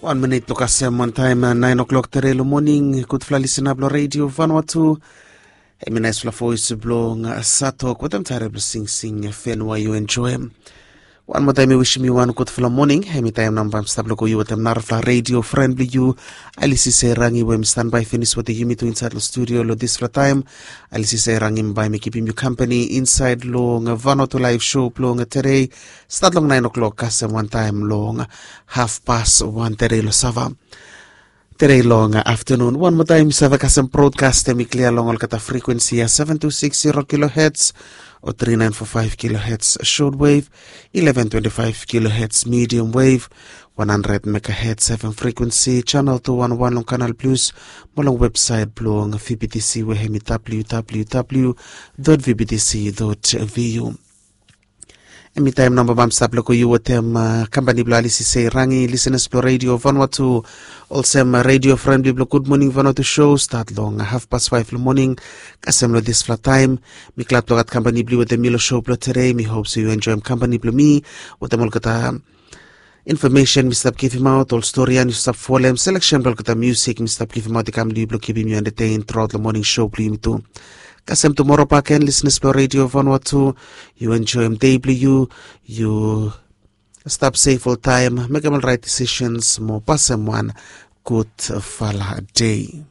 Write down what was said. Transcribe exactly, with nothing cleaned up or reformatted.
Wan minit long kasem wantaem naen o'klok tere long moning. Gudfala lisenap long redio Vanuatu. Hemi naesfala voes blong Satok wetem taere blong singsing fen we yu enjoem. Wan moa taem mi wisim yu wan gudfala moning. Hemi taem nao bae mi stap long go yu wetem narafala redio fren blong yu, Alisi Seirangi, we mi stanbae finis wetem yumi tu insaed long studio long disfala taem. Alisi Seirangi bae mi givim yu kampani insaed long Vanuatu laef sho blong tere, stat long naen o'klok kasem wantaem long hafpas wan tere long sava. Tere long aftenun wan moa taem mi save kasem brodkas hemi klia long olgeta frekuensi ya, seven two six zero kilohertz o three nine four five kilohertz shortwave, eleven twenty-five kilohertz medium wave, one hundred megahertz F M frekuensi, channel two one one long Canal Plus, mo long websaet blong V B T C we hemi W W W dot V B T C dot V U. Hemi taem nao bae mi stap long go yu wetem kampani blong Alisi Seirangi, lisenas blong redio Vanuatu, olsem redio fren blong Gud Moning Vanuatu sho, stat long hafpas faef long moning kasem long disfala taem. Mi glad blong gat kampani blong yu wetem mi long sho blong tere. Mi hop se yu enjoem kampani blong mi wetem olgeta infomesen mi stap givimaot, ol stori ya yu stap folem, seleksen blong olgeta musik mi stap givimaot i kam long yu blong kipim yu entetein truaot long moning sho blong yumi tu. Kasem tumora bakegen, lisenas blong redio Vanuatu, yu enjoem dei blong yu. Yu stap sef oltaem, mekem ol raet disisens mo pasem wan gudfala dei.